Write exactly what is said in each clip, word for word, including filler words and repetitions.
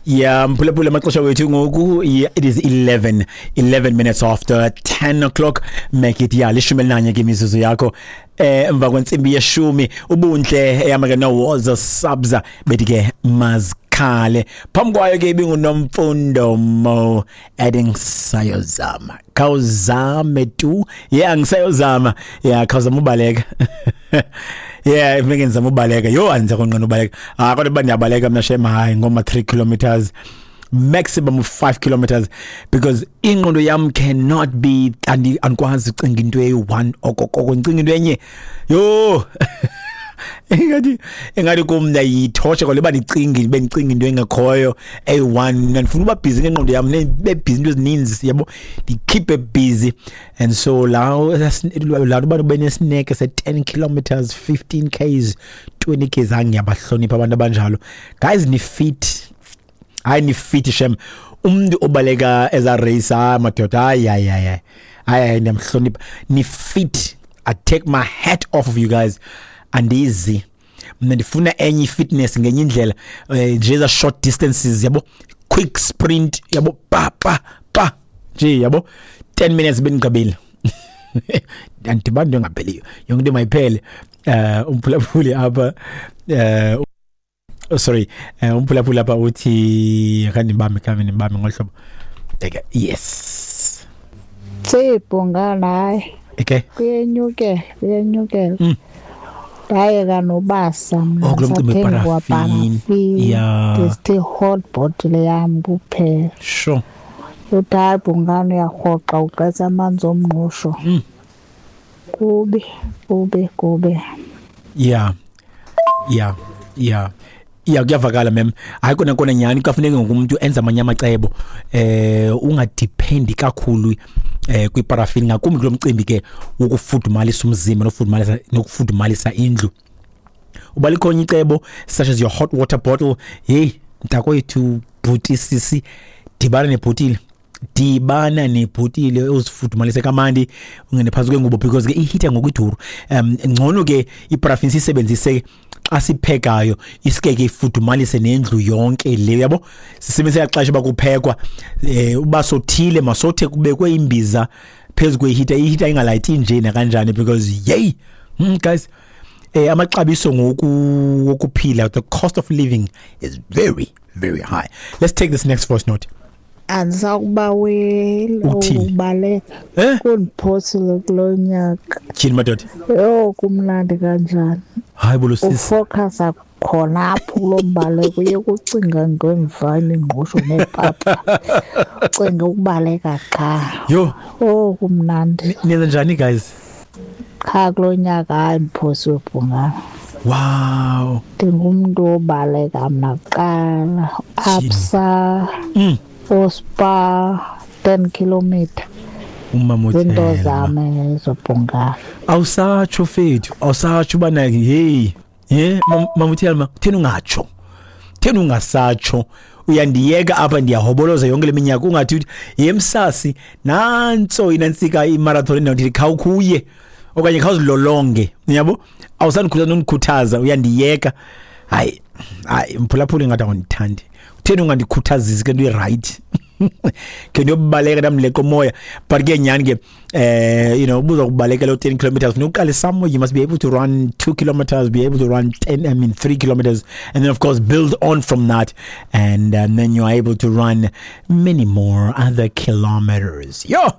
Yeah, mphulaphula, amaxesha wethu ngoku, yeah, it is eleven eleven minutes after ten o'clock. Make it, yeah, lishumi elinanye ke imizuzu yakho eh emva kwentsimbi yeshumi. Ubuntle eyama ke no Woza Sabza bethi ke mazikhale. Phambi kwayo ke ibinguNomfundo Mo adding "Sayozama". Khawuzame tu. Yeah, ngisayozama. Yeah, khawuzama ubaleka. Yeah, funeke ndizama ubaleka. Yho, andiza konqena ubaleka. Ah, kodwa uba ndiyabaleka mna shem, hayi, ngoma three kilometers, maximum of five kilometers, because ingqondo yam cannot be, andi andikwazi ucinga into eyi-one okokoko, ndicinga into enye. Yho, ingathi ingathi kum ndiyayithosha kwale uba ndicinge, bendicinga into engekhoyo eyi-one. Mna ndifuna uba busy ngengqondo yam, be busy into ezininzi, yabo, ndikhiphe busy. And so la laa nto uba ube nesineke se-ten kilometers, fifteen ks, twenty ks, hayi, ngiyabahlonipha abantu abanjalo. Guys, ni-fit, hayi, ni-fit shem. Umntu obaleka eza race, hayi madoda, hayi, hayi, hayi, hayi, hayi, ndiyamhlonipha. Ni-fit. I take my hat off of you guys. Andizi mna, ndifuna enye i-fitness ngenye indlela, eh, nje eza short distances, yabo, quick sprint, yabo, pa pa pa nje, yabo, ten minutes bendigqibile. Andibani into engapheliyo, yonke into mayiphele. eh umphulaphuli apha, eh oh, sorry, eh umphulaphuli apha uthi akandibambe, kame ndibambe ngolu hlobo. Okay, yes. Tsibhungana, hayi. Okay. Kuyenyukela, kuyenyukela. Mm. Ndayeka nobasa mna. Oh, kulo mcimbi. Ndisathenga. Weparafini. Kwaparafini. Yeah. Ndisithi hot bottle yam kuphela. Sure uthi hayi bhungane, uyarhoxa ugqetha amanzi omngqusho. Mm. Kubi, kubi, kubi. yeah yeah yeah yeah kuyavakala mem. Hayi kona kona, nyhani kuyafuneka ngoku umuntu enze amanye amacebo, eh ungadependi kakhulu eh kwiparafini, ngakumbi kulo mcimbi ke wokufudumalisa umzimba nokufudumalisa nokufudumalisa indlu. Uba likhona icebo such as your hot water bottle, hey mntakwethu, bhuti, sisi, dibana nebhotile, dibana nebhotile, uzifudumalise kamandi, ungene phantsi kwengubo, because ke i-heater ngoku iduru. um ngcono ke iparafini siyisebenzise xa siphekayo, iske ke ifudumalise nendlu yonke le, yabo. Sisebenzise xesha uba kuphekwa, eh uba sothile masothe kubekwe imbiza phezu kwe-heater, i-heater ingalayiti nje nakanjani, because yey, mm, guys, eh amaxabiso ngoku wokuphila, the cost of living is very, very high. Let's take this next voice note. Andisakubaweli. Uthini? Ukubaleka eh kundiphosile kulo nyaka. Tyhini madoda. Yho, kumnandi kanjani! Hayi bolo sisi. Ufocusa khona apho kulo mbaleko, uye kucinga ngemva imingqusho neepapa, ucinge ukubaleka qha. Yho. Oh, kumnandi. Niyenza njani, guys? Qha kulo nyaka, hayi, ndiphosiwe bhungana. Wow ndingumntu obaleka mna kuqala, Absa, mm. oSpar, ten kilometer. Umama. Zinto uthela zam ezo, bhungana. Awusatsho fethu, awusatsho ubana hey, ye mama uThelma, kutheni ungatsho, kutheni ungasatsho? Uyandiyeka apha, ndiyahoboloza yonke le minyaka, ungathi uthi yemsasi nantso inantsika imarathon endawo, khawukhuye okanye khawuzilolonge, yabo. Awusandikhuthaza nondikhuthaza, uyandiyeka. Hayi, hayi mphulaphuli, ngathi awundithandi. Kutheni ungandikhuthazisi ke nto i-right ke ndiyobaleka, ndamleqa umoya? But ke nyhani ke, eh you know ubuza kubalekela u-ten kilometers, funeka uqale somewhere. You must be able to run two kilometers, be able to run ten, I mean three kilometers, and then of course build on from that, and, and then you are able to run many more other kilometers. Yo,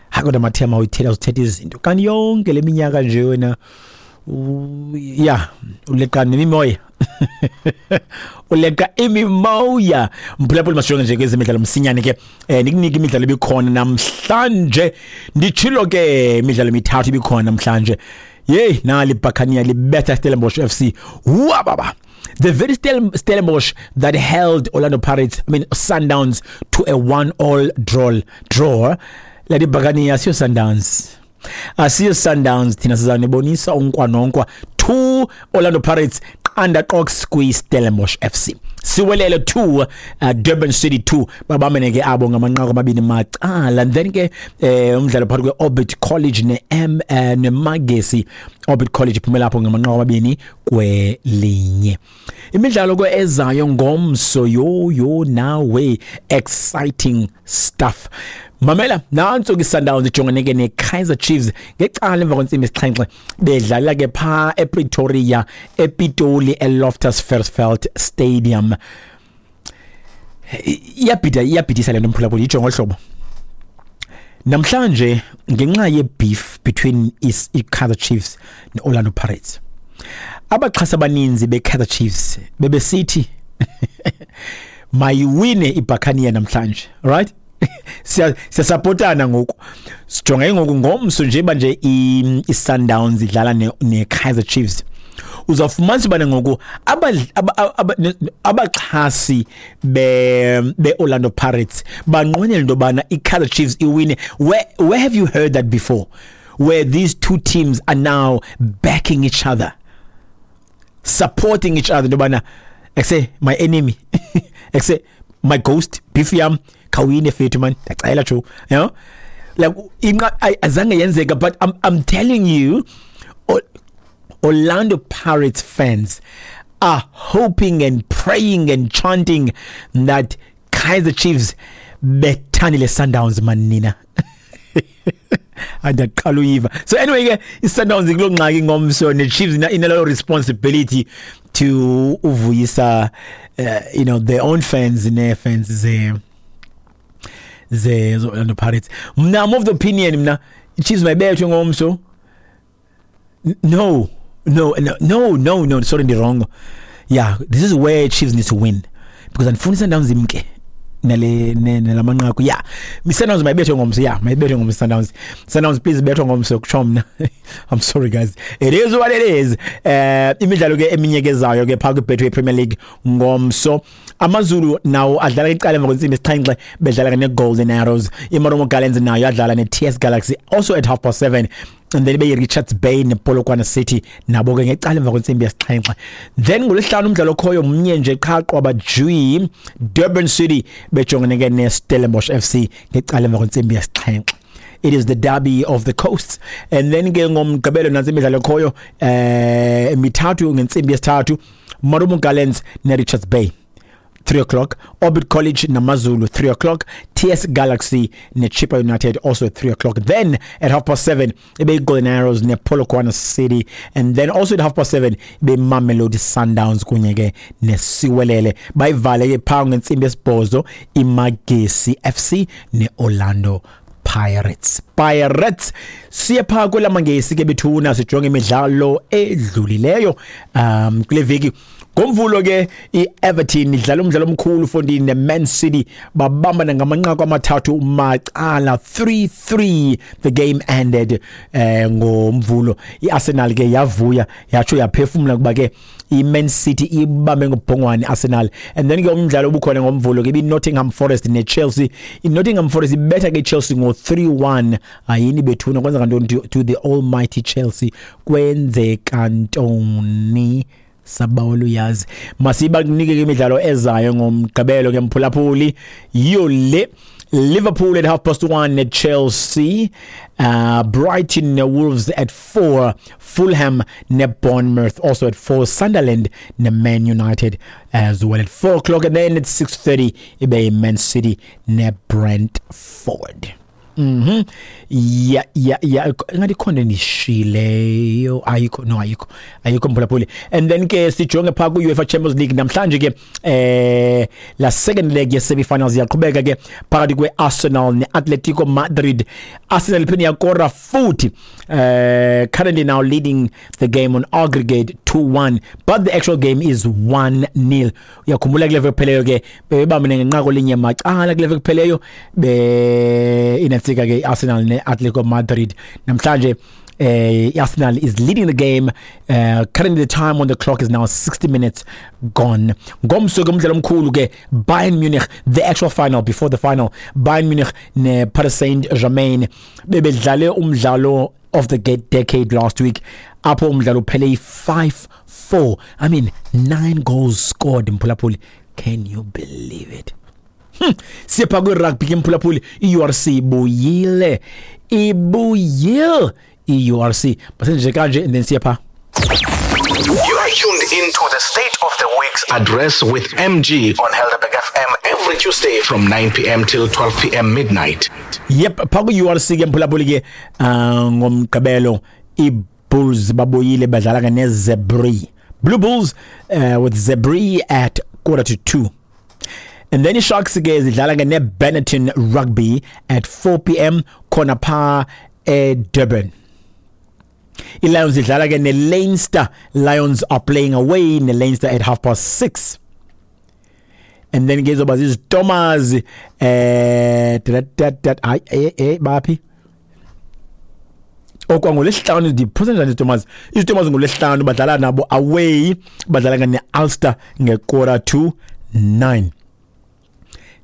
hayi kodwa mathema, uyithetha, uzithetha izinto kanti yonke le minyaka nje wena, ya, uleqa nemimoya, uleqa imimoya. Mphulaphuli, masijonge nje kwezemidlalo msinyane ke, eh nikunike imidlalo ebikhona namhlanje. Nditshilo ke, imidlalo emithathu ibikhona namhlanje. Yeyi, nali Buccaneer libetha Stellenbosch F C. Wababa, the very Stellenbosch that held Orlando Pirates, I mean Sundowns, to a one-all draw draw Ladi Buccaneer, asiyo Sundowns, asiyo Sundowns thina, sizanibonisa unkwa nonkwa. Two Orlando Pirates. Underdogs kwi-Stellenbosch F C, Siwelele two, uh, Durban City two. Babamene ke abo ngamanqaku amabini macala. And then ke eh umdlalo phakathi kwe-Orbit College ne-M eh, neMagesi. Orbit College iphumela lapho ngamanqaku amabini kwelinye. Imidlalo ke ezayo ngomso, yo yo, nawe, exciting stuff. Mamela nanso ke, Sundowns ijongene ke ne-Kaizer Chiefs ngecala emva kwentsimbi isixhenxe, bedlala ke pha ePretoria, ePitoli, eLoftus Versfeld Stadium. Iyabhida, iyabhidisa le nto, mphulaphuli. Ijongo hlobo namhlanje ngenxa ye-beef between is i-Kaizer Chiefs ne-Orlando Pirates, abaxhasi abaninzi be-Kaizer Chiefs bebesithi mayiwine iBuccaneer namhlanje, right? Siya siyasupportana ngoku. Sijonge ngoku ngomso, nje nje i-Sundowns idlala ne-Kaizer Chiefs, uzawufumanisa ubana ngoku abaxhasi be be-Orlando Pirates banqwenela into yobana i-Kaizer Chiefs iwine. where, where have you heard that before, where these two teams are now backing each other, supporting each other, into yobana ekse my enemy, ekse my ghost, beef yam, khawine fethu man, ndiyacela jo, you know like inqa azange yenzeka. But I'm, I'm telling you, Orlando Pirates fans are hoping and praying and chanting that Kaizer Chiefs bethanile Sundowns manina. Andaqala uyiva. So anyway ke, iSundowns kuloo ngxaki ngomso, ne-Chiefs inalo responsibility to uvuyisa uh, you know their own fans ne-fans ze ze Orlando Pirates. Mna I'm of the opinion, mna, iChiefs mayibethwe ngomso. No, no, no, no, no, no, sorry, ndi wrong. Yeah, this is where Chiefs need to win because andifuni iSundowns imke nale nalamanqaku. Yeah, iSundowns mayibethwe ngomso. Yeah, mayibethwe ngomso Sundowns. Sundowns, please bethwe ngomso, kutsho mna. I'm sorry guys, it is what it is. Eh imidlalo ke eminye ke zayo ke phaa kwiBetway Premier League ngomso, AmaZulu nawo adlala icala emva kwentsimbi esixhenxe, bedlala ne-Golden Arrows. IMarumo Gallants nayo adlala ne-T S Galaxy also at half past seven, and then ibe yi-Richards Bay nePolokwane City, nabo ke ngecala emva kwentsimbi yesixhenxe. Then ngolwesihlanu umdlalo okhoyo mnye nje qha, qwaba jwi, Durban City bejongene ke ne-Stellenbosch F C ngecala emva kwentsimbi yesixhenxe. It is the derby of the coasts. And then ke ngomgqibelo nantsi imidlalo ekhoyo eh emithathu ngentsimbi yesithathu: Marumo Gallants ne-Richards Bay, three o'clock; Orbit College naMazulu, three o'clock; T S Galaxy neChippa United, also at three o'clock. Then at half past seven ibe Golden Arrows nePolokwane City, and then also at half past seven ibe Mamelodi Sundowns kunye ke neSiwelele. Bayivale ke phaa ngentsimbi yesibhozo iMagesi F C neOrlando Pirates. Pirates. Siye phaa kwelamangesi ke bethuna, sijonge imidlalo edlulileyo um kule veki. Ngomvulo ke iEverton idlala umdlalo omkhulu fondini neMan City, babambana ngamanqaku amathathu macala, three three the game ended eh ngomvulo. IArsenal ke yavuya yatsho yaphefumula kuba ke iMan City ibambe ngobhongwane Arsenal. And then ke umdlalo obukhona ngomvulo ke iNottingham Forest neChelsea. INottingham Forest ibetha ke Chelsea ngo three one. Ayini bethuna, kwenza kantoni to, to the almighty Chelsea? Kwenzeka ntoni? Sabawela uyazi. Masiba kunike ke imidlalo ezayo ngomgqibelo ke mphulaphuli, yiyo le: Liverpool at half past one at Chelsea, uh, Brighton ne Wolves at four, Fulham ne Bournemouth also at four, Sunderland ne Man United as well at four o'clock, and then at six thirty ibe Man City ne Brentford. Mhm. Yeah yeah yeah ngathi khona nishileyo, ayikho, no, ayikho, ayikho mphulaphuli. And then ke sijonge pha ku UEFA Champions League namhlanje ke, eh la second leg ye semi-finals iyaqhubeka ke phakathi kwe Arsenal ne Atletico Madrid. Arsenal iphinde yakora futhi, eh currently now leading the game on aggregate two one, but the actual game is one nil. Uyakhumbula kule veki kupheleyo ke bebamene ngenqaku linye macala kule veki kupheleyo be inafika ke Arsenal ne Atletico Madrid. Namhlanje uh, Arsenal is leading the game. Uh, currently the time on the clock is now sixty minutes gone. Ngomso ke umdlalo omkhulu ke, Bayern Munich, the actual final before the final, Bayern Munich ne Paris Saint-Germain, bebedlale umdlalo of the decade last week, apho umdlalo uphele five four. I mean, nine goals scored, mphulaphuli. Can you believe it? Hmm. Siyapha kwi-rugby ke, mphulaphuli. I-U R C ibuyile, ibuyile i-U R C. Basenje kanje and then siyapha. You are tuned into the State of the Week's Address with M G on Helderberg F M every Tuesday from nine p m till twelve p m midnight. Yep, pha ku-U R C ke, mphulaphuli ke, uh, ngomgqibelo i-Bulls babuyile, badlala ke neZebri, Blue Bulls uh, with Zebri at quarter to two. And then i-Sharks ke zidlala ke ne-Benetton Rugby at four p m khona pha eDurban. I-Lions idlala ke ne-Leinster. Lions are playing away ne-Leinster at half past six. And then ke izoba ziziTomas eh dat dat, hayi, eh eh baphi okwangolwesihlanu? Ndiphose njani iziTomas? IziTomas ngolwesihlanu badlala nabo away, badlala ke ne-Ulster nge-quarter to nine.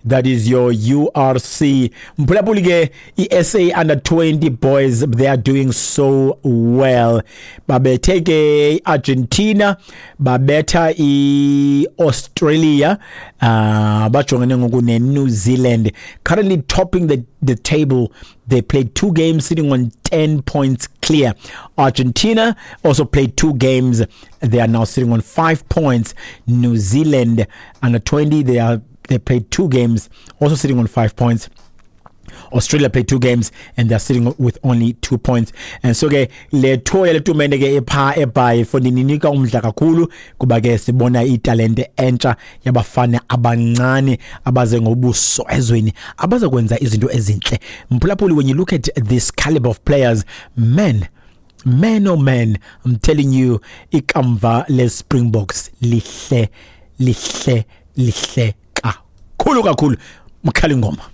That is your U R C. Mphulaphuli ke, i-S A under twenty boys, they are doing so well. Babethe ke Argentina, babetha i-Australia, uh bajongene ngoku ne-New Zealand, currently topping the the table. They played two games, sitting on ten points clear. Argentina also played two games. They are now sitting on five points. New Zealand under twenty, they are they played two games, also sitting on five points. Australia played two games and they're sitting with only two points. And so ke le tour yale tumente ke epha eBhayi for ninika umdla kakhulu kuba ke sibona italente entsha yabafana abancane abaze ngobuso ezweni, abazokwenza izinto ezinhle. Mphulaphuli, when you look at this caliber of players, man, man, oh man, I'm telling you, ikamva le Springboks lihle, lihle, lihle kakhulu kakhulu. Mkhali ngoma.